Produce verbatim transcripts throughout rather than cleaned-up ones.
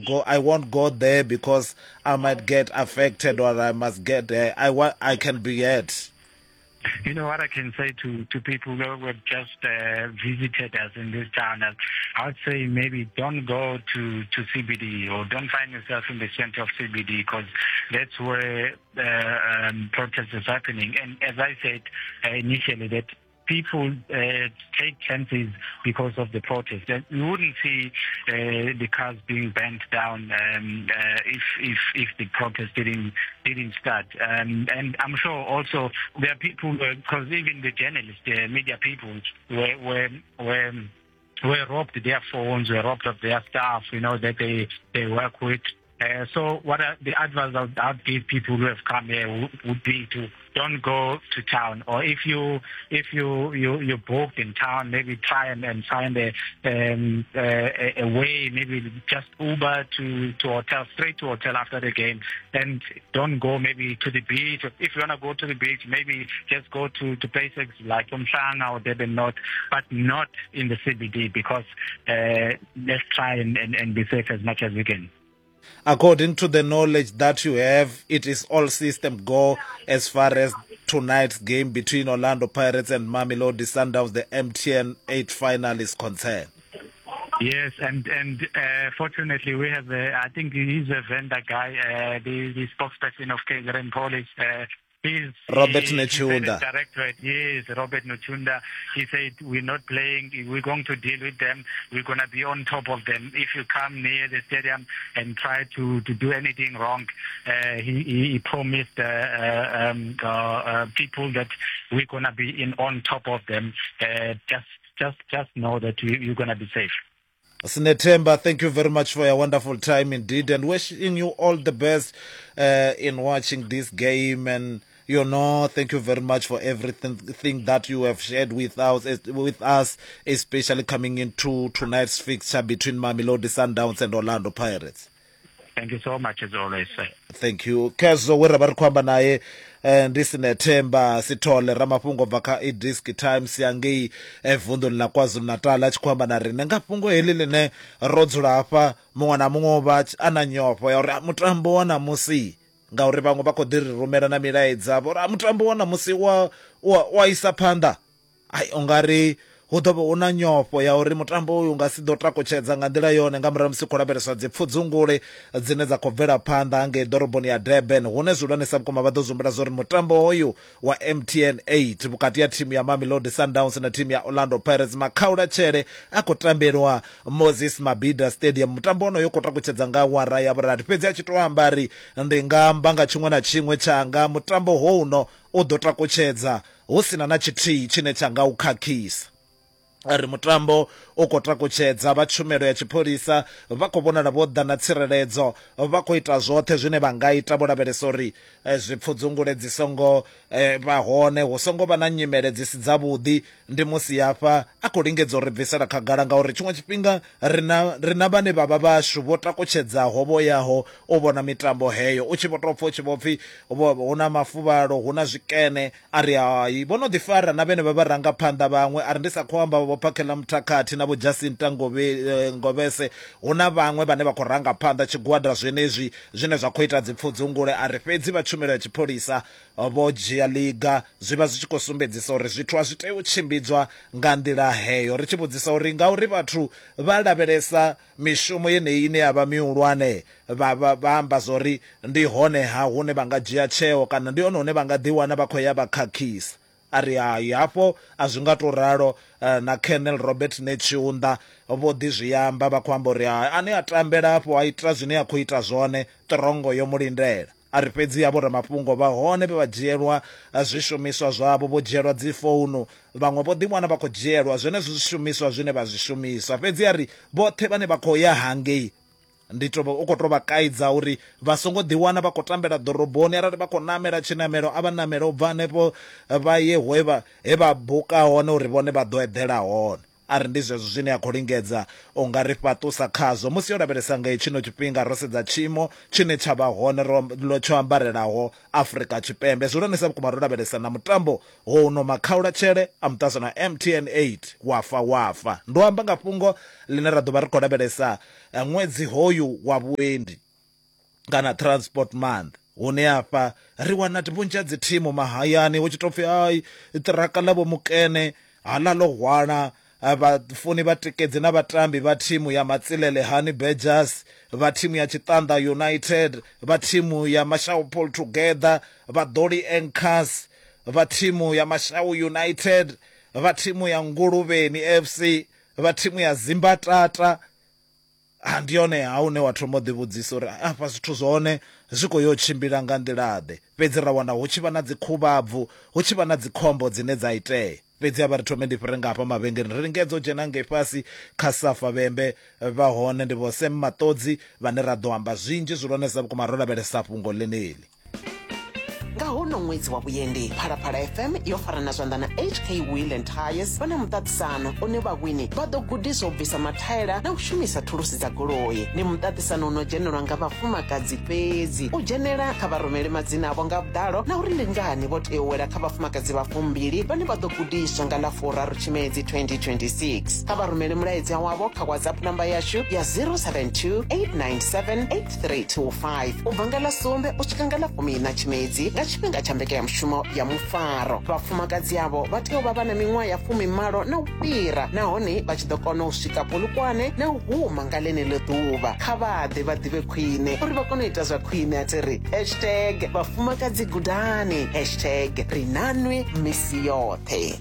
Go, I won't go there because I might get affected or I must get there. I want, I can be hurt. You know what I can say to, to people who have just uh, visited us in this town? I would say maybe don't go to, to C B D or don't find yourself in the center of C B D, because that's where uh, um, protest is happening. And as I said uh, initially, that people uh, take chances because of the protest. You wouldn't see uh, the cars being bent down um, uh, if, if if the protest didn't didn't start. Um, and I'm sure also there are people, because even the journalists, the media people, were were were, were robbed their phones, were robbed of their staff, you know, that they, they work with. Uh, so what I, the advice I would, I would give people who have come here would, would be to don't go to town, or if you if you, you, you're booked in town, maybe try and, and find a, um, a, a way, maybe just Uber to, to hotel, straight to hotel after the game, and don't go maybe to the beach. If you wanna go to the beach, maybe just go to, to places like Umhlanga or Durban North, but not in the C B D, because uh, let's try and, and, and be safe as much as we can. According to the knowledge that you have, it is all system go as far as tonight's game between Orlando Pirates and Mamelodi Sundowns, the M T N eight final, is concerned. Yes, and, and uh, fortunately we have, a, I think he's a vendor guy, uh, the, the spokesperson of K Z N Police. Uh, He's, Robert he, Netshiunda. Directorate, yes, Robert Netshiunda. He said, we're not playing, we're going to deal with them, we're going to be on top of them. If you come near the stadium and try to, to do anything wrong, uh, he, he promised uh, uh, um, uh, uh, people that we're going to be in on top of them. Uh, just, just, just know that you, you're going to be safe. Sinethemba, thank you very much for your wonderful time indeed, and wishing you all the best uh, in watching this game. And you know, thank you very much for everything thing that you have shared with us, with us, especially coming into tonight's fixture between Mamelodi Sundowns and Orlando Pirates. Thank you so much, as always, sir. Thank you. Kezo we ra ba ri khou amba naye ndi Sinethemba Sithole ramafhungo bva kha iDiski Times ya ngei vunḓuni ḽa KwaZulu-Natal, a tshi khou amba na riṋe nga fhungo heḽi ḽine ro dzula hafha muṅwe na muṅwe vha a na nyofho ya uri mutambo wa ṋamusi, ngauri vhaṅwe vha khou ḓi ri rumela na milaedza vho uri mutambo wa ṋamusi wa wa isa phanḓa. Ai, ungari hu ḓo vha hu na nyofho ya uri mutambo uyu nga si ḓo takutshedza nga nḓila yone nga murahu musi khou lavheleswa dzi pfudzungule dzine dza khou bvela phanḓa ngei ḓoroboni ya Durban, hune zwihulwanesa vhukuma vha ḓo zumbela zwa uri mutambo hoyu wa M T N eight vhukati ha thimu ya Mamelodi Sundowns na thimu ya Orlando Pirates makhaulatshele a khou tambelwa Moses Mabhida Stadium. Mutambo wonoyo khou takutshedza nga awara ya vhurathi, fhedzi a tshi tou amba ri ndi nga amba nga tshiṅwe na tshiṅwe tshanga, mutambo houno u ḓo takutshedza hu sina na tshithihi tshine tsha nga u khakhisa. Ri mutambo u khou takutshedza, vha tshumelo ya tshipholisa vha khou vhonala vho ḓa na tsireledzo, vha khou ita zwoṱhe zwine vha nga ita vho lavhelesa uri zwipfudzungule dzi songo vha hone, hu songo vha na nyimele dzi si dzavhuḓi. Ndi musi hafha a khou lingedza uri bvisela khagala, ngauri tshiṅwe tshifhinga ri na ri na vhane vha vha vhashu vho takutshedzaho vho yaho u vhona mitambo heyo, u tshi vho tou pfha u tshi vho pfhi hu na mafuvhalo, hu na zwikene, a ri hai vho no ḓifara na vhene vha vharangaphanḓa vhaṅwe, a ri ndi sa khou amba vho Phakhela Muthakathi na vho Jacinta Ngobese, hu na vhaṅwe vhane vha khou ranga phanḓa tshigwada zwenezwi zwine zwa khou ita dzipfudzungule. A ri fhedzi vha tshumelo ya tshipholisa vho dzhia liga, zwi vha zwi tshi khou sumbedzisa uri zwithu a zwi tei u tshimbidzwa nga nḓila heyo. Ri tshi vhudzisa uri ngauri vhathu vha lavhelesa mishumo yeneyi ine ya vha mihulwane, vha vha amba zwori ndi hone ha hune vha nga dzhia tsheo kana ndi hone hune vha nga ḓiwana vha khou ya vha khakhisa. A ri hai, hafho a zwi nga tou ralo. Na Colonel Robert Netshiunda vho ḓi zwi amba, vha khou amba uri ane a tambela hafho a ita zwine a khou ita zwone, ṱirongo yo mu lindela. A ri fhedzi ya vhoramafhungo vha hone vhe vha dzhielwa zwishumiswa zwavho, vho dzhielwa dzi founu, vhaṅwe vho ḓiwana vha khou dzhielwa zwenezwo zwishumiswa zwine vha zwi shumisa. Fhedzi a ri vhoṱhe vhane vha khou ya hangei ndi to u khou tou vha kaidza uri vha songo ḓiwana vha khou tambela ḓoroboni, arali vha khou namela tshinamelo a vha namele u bva hanefho vha ye he vha he vha buka hone uri vhone vha ḓo eḓela hone. A ri ndi zwezwo zwine a khou lingedza u nga ri fhaṱusa khazwo musi yo lavhelesa nga tshino tshifhinga ro sedza tshiimo tshine tsha vha hone ro tsho ambarelaho Afrika Tshipembe. Zwihulwanesa vhukuma ro lavhelesa na mutambo houno makhaulatshele a muṱasano M T N eight wafa wafa. Ndo amba nga fhungo ḽine ra ḓo vha ri khou lavhelesa ṅwedzi hoyu wa vhuendi kana Transport Month, hune afha ri wana vhunzhi ha dzi thimu mahayani hu tshi tou pfhi ai ṱiraka ḽa vho mukene hala ḽo hwala vhafuni vhatikedzi na vhatambi vha thimu ya Matsilele Honey Badgers, vha thimu ya Tshiṱanḓa United, vha thimu ya Mashau Pull Together, vha Doli Anchors, vha thimu ya Mashau United, vha thimu ya Nguluvheni F C, vha thimu ya Zimbatata. Ndi yone ha une wa thoma u ḓivhudzisa uri afha zwithu zwone zwi khou yo tshimbila nga nḓila-ḓe. Fhedzi ra wana hu tshi vha na dzikhuvhabvu, hu tshi vha na dzikhombo dzine dza itea. Fhedzi a vha ri thome ndi fhire nga hafha mavhengeleni ri lingedza u dzhena ngei fhasi kha Safa Vhembe vha hone ndi vho Sam Maṱodzi vhane ra ḓo amba zwinzhi zwihulwanesa vhukuma ro lavhelesa fhungo ḽeneḽi. Nga hono ṅwedzi wa vhuendi, Phalaphala F M yo farana zwanḓa na H K Wheel and Tires vha na muṱaṱisano une vhawini vha ḓo gudiswa u bvisa mathaela na u shumisa thulusi dza goloi. Ndi muṱaṱisano uno dzhenelwa nga vhafumakadzi fhedzi. U dzhenela kha vha rumele madzina avho nga vhuḓalo na uri ndi ngani vho tea u wela kha vhafumakadzi vha fumbili vhane vha ḓo gudiswa nga ḽa furaru Tshimedzi twenty twenty-six. Kha vha rumele mulaedza wavho kha WhatsApp namba yashu ya zero seven two eight nine seven eight three two five u bva nga ḽa sumbe u swika nga ḽa fumiiṋa Tshimedzi nga tshifhinga tsha mbekanyamushumo ya mufaro. Vhafumakadzi avho vha tea u vha vha na miṅwaha ya fumimalo na u fhira nahone vha tshi ḓo kona u swika Polokwane na u huma nga ḽeneḽo ḓuvha. Kha vha ḓe vha ḓivhe khwine uri vha kone u ita zwa khwine. A thi ri hashtag vhafumakadzi gudani, hashtag ri nanwi misi yoṱhe.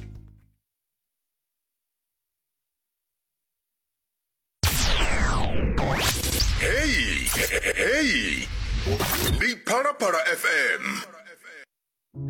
Hey, hey, ndi Phalaphala F M.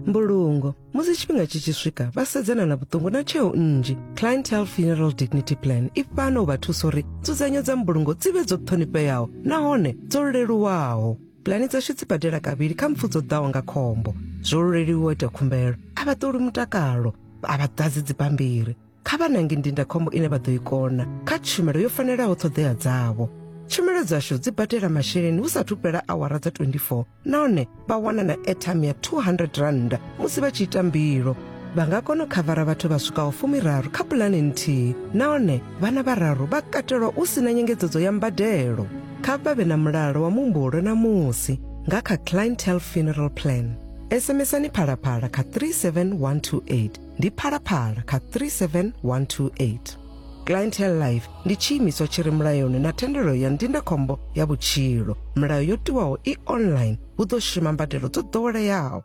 Mbulungo musi tshifhinga tshi tshi swika vha sedzana na vhuṱungu na tsheo nnzhi. Clientele Funeral Dignity Plan i fhano u vha thusa uri nzudzanyo dza mbulungo dzi vhe dzo ṱhonifheaho nahone dzo leluwaho. Pulani dzashu dzi badela kavhili kha mpfu dzo ḓaho nga khombo. Zwo leluwa u ita khumbelo, a vha ṱoli mutakalo, a vha ḓadzi dzibammbiri. Kha vha nange ndindakhombo ine vha ḓo i kona kha tshumelo yo fanelaho ṱhoḓea dzavho. Tshumelo dzashu dzi badela masheleni hu sathu fhela awara dza twenty-four nahone vha wana na airtime ya two hundred rand musi vha tshi ita mbilo. Vha nga kona u khavara vhathu vha swikaho fumiraru kha pulane nthihi nahone vhana vhararu vha katelwa u sina nyengedzedzo ya mbadelo. Kha vha vhe na mulalo wa muhumbulo na musi nga kha Clientele Funeral Plan. SMSani Phalaphala kha three seven one two eight. Ndi Phalaphala kha three seven one two eight. Clientele Life ndi tshiimiswa tshi re mulayoni na thendelo ya ndindakhombo ya vhutshilo. Milayo yo tiwaho i online, hu ḓo shuma mbadelo dzo ḓoweleaho.